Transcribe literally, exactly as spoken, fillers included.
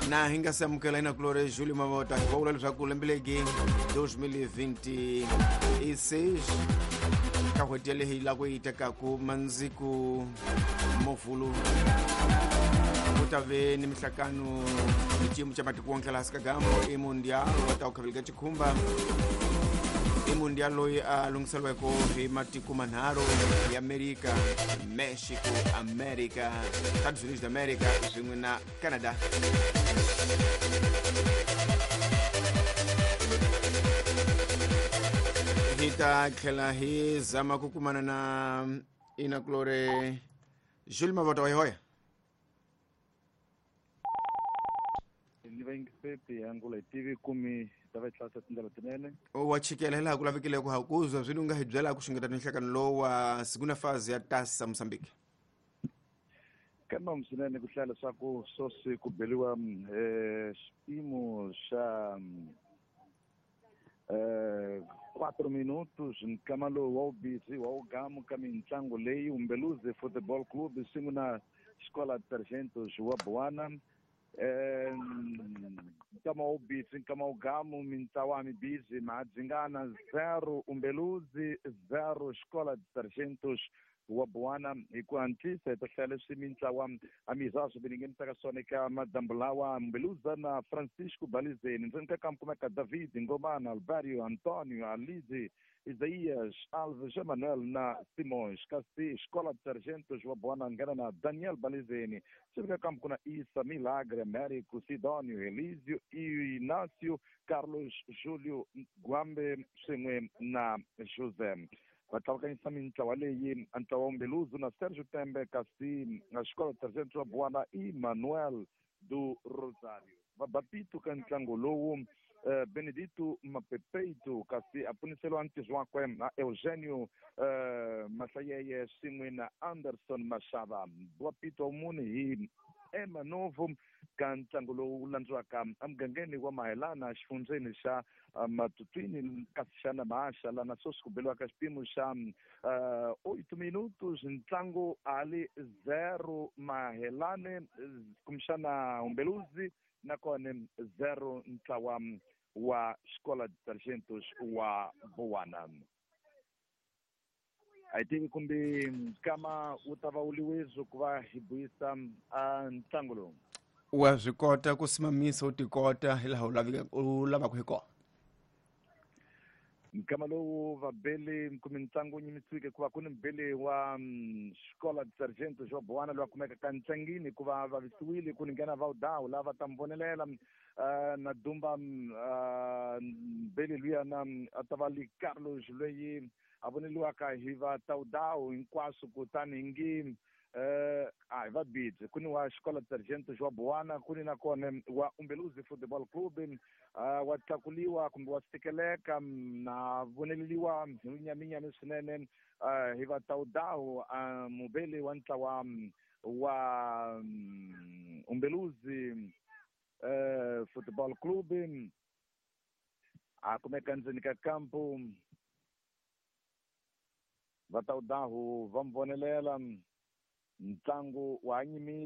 Na hi nga se amukela inakulore Júlio Mavota va vula leswaku lembe legi twenty twenty-six ka n'hweti yaleyi la ku yi tekaku mandziku movhulu ku ta ve ni mihlakano hi xiyimo xa matiko wonke laha Sikagamo i mundial wa ta ku khaveleka xikhumba i mundial loyi a lunghiseriweke hi matiko manharhu ya Amerika, Mexico, America, Estados Unidos da America swin'we na Canada. Hi ta tlhela hi zama ku kumana na inakulore Jules Mavota wa hoya. Ni va yingiseti angula hi tivi kumi ta va tlasa tindlela tinene. Wa chikela hilaha ku lavekile ku hakuzwa swi nga hi byela ku xungeta nhlekano lowu wa segunda fase ya Taça Moçambique. Kambe swinene ku hlaya leswaku sweswi ku beliwa eh xipimo xa eh quatro minutos nkama lowu wa wu busy wa wu gamu ka mintlangu leyi Umbeluzi Football Club swin'we na Escola de Sargentos wa Buana. Eh nkama wu busy nkama wu gamu mintlawa mi busy Mahadzingana zero Umbeluzi zero Escola de Sargentos wa Buana. Hi ku hatlisa hi ta hlaya leswi mintlawa a mizazwo mi nghenisaka swona eka madyambu lawa Umbeluza na Francisco Balizeni ndzeni ka kamp kumeka David Ngomana, Alvario, Antonio, Alize, Isaías, Alves, Emanuel na Simões. Kasi Escola de Sargentos wa Buana nghena na Daniel Balizeni ndzeni ka kamp ku na Isa, Milagre, Américo, Sidônio, Elísio, Inácio, Carlos, Júlio, Guambe swin'we na José. Va tlakukanyisa mintlawa leyi ntlawa wa Umbeluzi na Sergio Tembe kasi na Escola de Sargentos wa Buana i Manuel do Rosario. Va bapito ka ntlangu lowu eh, Benedito Mapepeito kasi a puniseliwa ntirho wakwe na Eugenio eh, Mahlayeye swin'we na Anderson Mashava. Bapito wa mune hi Ema Novo ka ntlangu lowu landziwaka emugangeni wa Mahelana xifundzeni xa Matutwini kasi xana Mahaxa lana sweswi ku beliwaka xipimo xa oito minutos ntlangu ali zero Mahelane kumbexana Umbeluzi nakona zero ntlawa wa Escola de Sargentos wa Buana. A hi tivi kumbe nkama wu ta va wu liwezo ku va hi buyisa a ntlangu lowu. Wa swi kota ku simamisa u tikota hi laha u laveka u lavaka hi kona. Nkama lowu vabeli kumbe ntlangu wu nyimisiwike hikuva ku ni mubeli wa Escola de Sargentos wa Buana loyi a kumeka ka ntlangini hikuva vavisiwile ku ni nghena Vawudawu lava ta mi vonelela na Dumba mbeli luya na a ta va li Carlos loyi a voneliwaka hi va Tawudawu hinkwaswo kutani ngi eh a hi va bidzi ku ni wa Escola de Sargentos wa Buana ku ni nakona wa Umbeluzi Football Club uh, wa tlakuliwa kumbe wa tikeleka na voneleliwa hi lunyaminyami swinene uh, hi va Tawudawu uh, mubeli wa ntlawa wa um, Umbeluzi uh, Football Club a kumeka ndzeni ka kampu va Tawudawu va mi vonelela ntlangu wa nyimile.